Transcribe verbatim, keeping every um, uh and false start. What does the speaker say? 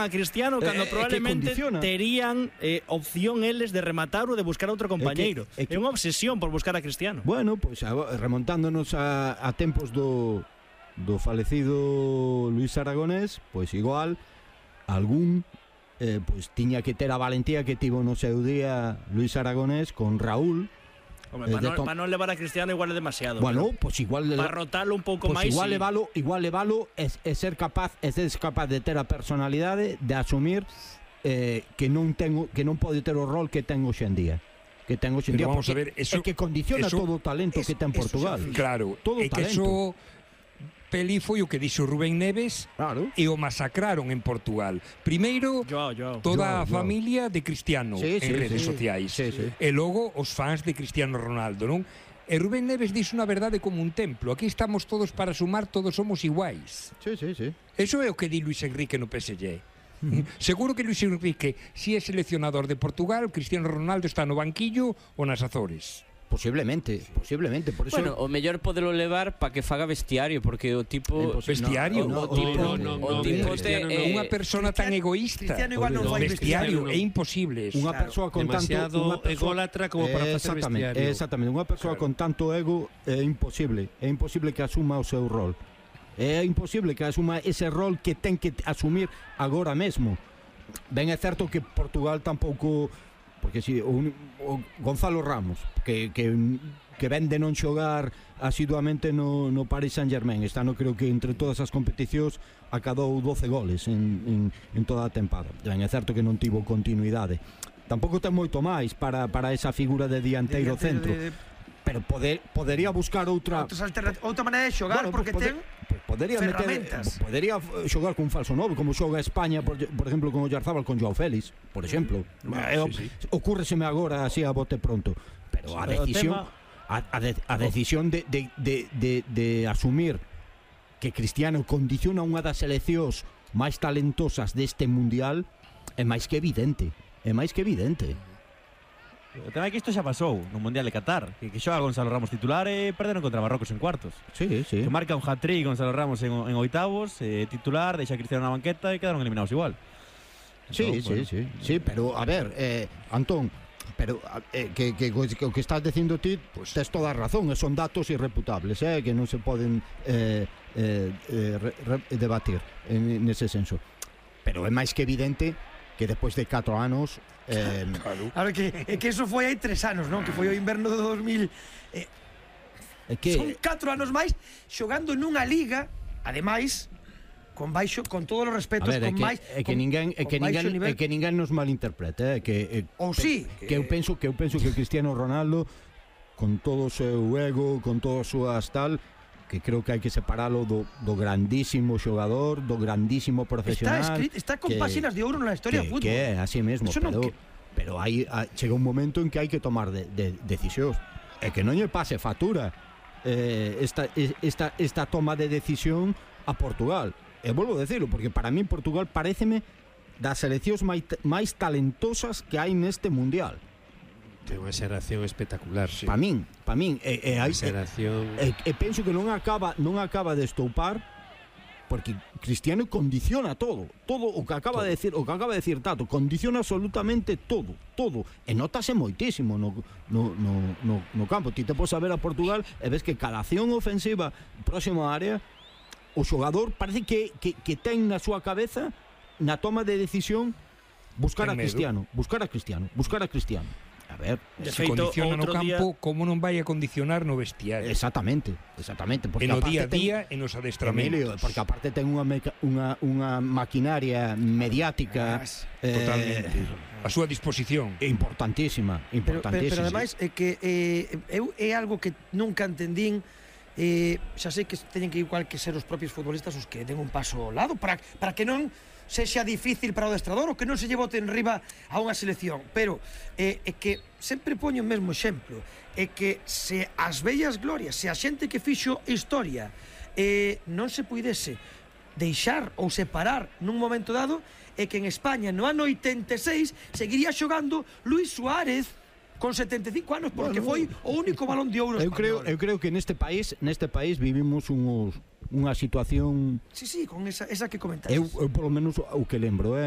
a Cristiano cando Eh, probablemente que condiciona. terían eh, opción eles de rematar ou de buscar outro compañeiro. É que- é que- É unha obsesión por buscar a Cristiano. Bueno, pois pues, remontándonos a, a tempos do do falecido Luis Aragonés, pois pues, igual algún eh, pois pues, tiña que ter a valentía que tivo no seu día Luis Aragonés con Raúl. Home, Eh, para, de non, tom- para non levar a Cristiano igual é demasiado. Bueno, pois pues igual para rotalo un pouco pues máis. igual sí. levalo, igual levalo é, é ser capaz, é ser capaz de ter a personalidade de asumir eh, que non ten que non pode ter o rol que ten hoxe en día. Que ten hoxe en Pero día, vamos a ver, eso- é que condiciona eso- todo o talento que ten Portugal. Claro, Todo é que talento. eso Peli foi o que dixo Rubén Neves Claro. e o masacraron en Portugal. Primeiro, Joao, Joao. toda Joao, a Joao. familia de Cristiano Sí, en sí, redes sí. sociais. Sí, sí. E logo os fans de Cristiano Ronaldo, non? E Rubén Neves dixo unha verdade como un templo. Aquí estamos todos para sumar, todos somos iguais. Sí, sí, sí. Eso é o que di Luis Enrique no P S G. Seguro que Luis Enrique, si é seleccionador de Portugal, Cristiano Ronaldo está no banquillo ou nas Azores. Posiblemente, posiblemente, por eso Bueno, o mellor podelo levar para que faga vestiario, porque o tipo... Vestiario? O, o No, tipo, no, no, o no, tipo Cristiano te, no. eh, Unha persona tan egoísta. Cristiano igual non fai Vestiario, vestiario, é imposible eso. unha persoa con tanto demasiado unha persoa- ególatra como para Eh, facer exactamente, vestiario. exactamente, unha persoa con tanto ego é imposible, é imposible que asuma o seu rol. É imposible que asuma ese rol que ten que asumir agora mesmo. Ben é certo que Portugal tampouco, porque si o, o Gonzalo Ramos, que que que ven de non xogar asiduamente no, no Paris Saint-Germain. Este ano creo que entre todas as competicións acadou doce goles en, en, en toda a tempada. Ben, é certo que non tivo continuidade. Tampouco ten moito máis para, para esa figura de dianteiro centro. De, Pero poder, podería buscar outra... outras alternativas, outra maneira de xogar, Bueno, porque pues, ten pues, podería meter, ferramentas. podería eh, xogar con falso novo, como xoga España, por, por exemplo, con Oyarzábal con Joao Félix, por exemplo. Eh, sí, sí. Ocúrreseme agora así a bote pronto. Pero a Pero o decisión... tema- A, a, de, a decisión de, de, de, de, de asumir que Cristiano condiciona unha das seleccións máis talentosas deste mundial é máis que evidente. É máis que evidente. O tema é que isto xa pasou no Mundial de Qatar, que, que xoga Gonzalo Ramos titular e perderon contra Marrocos en cuartos. Sí, sí. Que marca un hat-trick Gonzalo Ramos en, en oitavos, eh, titular, deixa a Cristiano na banqueta e quedaron eliminados igual. Sí, Entón, sí, bueno. sí, sí, pero a ver, eh, Antón, pero eh, que, que, que o que estás dicindo ti, pues, tes toda a razón, e son datos irreputables, eh, que non se poden eh, eh, eh, re, re, debatir en nese senso. Pero é máis que evidente que despois de catro anos eh, A ver, que, é que eso foi hai tres anos, non? Que foi o inverno do dos mil. Eh, é que son catro anos máis xogando nunha liga, ademais, con baixo, con todos os a respetos, ver, é con que, máis, é que con- ninguén é con que baixo ninguén nivel. é que ninguén nos malinterprete, eh, que eh, Ou sí, que, que eu penso que eu penso que Cristiano Ronaldo con todo o seu ego, con todas as súas tal, que creo que hai que separalo do, do grandísimo xogador, do grandísimo profesional. Está escrito, está con que- páxinas de ouro na historia que, do fútbol. que é así mesmo, Eso non pero, que- pero hai, a, chega un momento en que hai que tomar de, de, decisións e que non lle pase factura eh, esta, esta, esta toma de decisión a Portugal. E volvo a decirlo, porque para mí Portugal paréceme das seleccións máis, máis talentosas que hai neste mundial. Ten unha xeración espectacular, sí. Para min, para min e, e, hai, Unha xeración... e, e penso que non acaba non acaba de estoupar, porque Cristiano condiciona todo, todo o que acaba Todo. de decir, o que acaba de decir Tato, condiciona absolutamente todo, todo, e notase moitísimo no, no, no, no, no campo. Ti te podes ver a Portugal e ves que cada acción ofensiva próxima á área, o xogador parece que, que, que ten na súa cabeza, na toma de decisión, buscar Ten a medo. Cristiano, buscar a Cristiano, buscar a Cristiano. A ver, De Se feito, condiciona no outro día- campo, como non vai a condicionar no vestiario? exactamente, exactamente, porque E no aparte día a ten- día e nos Emilio, adestramentos. porque aparte ten unha, meca, unha, unha maquinaria mediática eh, Totalmente. A súa disposición. importantísima, Pero, pero, importantísima. pero ademais é que eh, eu é algo que nunca entendín. Eh, xa sei que teñen que igual que ser os propios futbolistas os que den un paso ao lado para, para que non sexa difícil para o adestrador ou que non se lle bote en riba a unha selección, pero eh, é que sempre poño o mesmo exemplo, é que se as bellas glorias, se a xente que fixo historia eh, non se puidese deixar ou separar nun momento dado, é que en España no ano oitenta e seis seguiría xogando Luis Suárez con setenta e cinco anos, porque Bueno, foi o único balón de ouro eu creo, español. eu creo que neste país, neste país vivimos uns, unha situación, Sí, sí, con esa, esa que comentaste. eu, eu polo menos o que lembro, eh,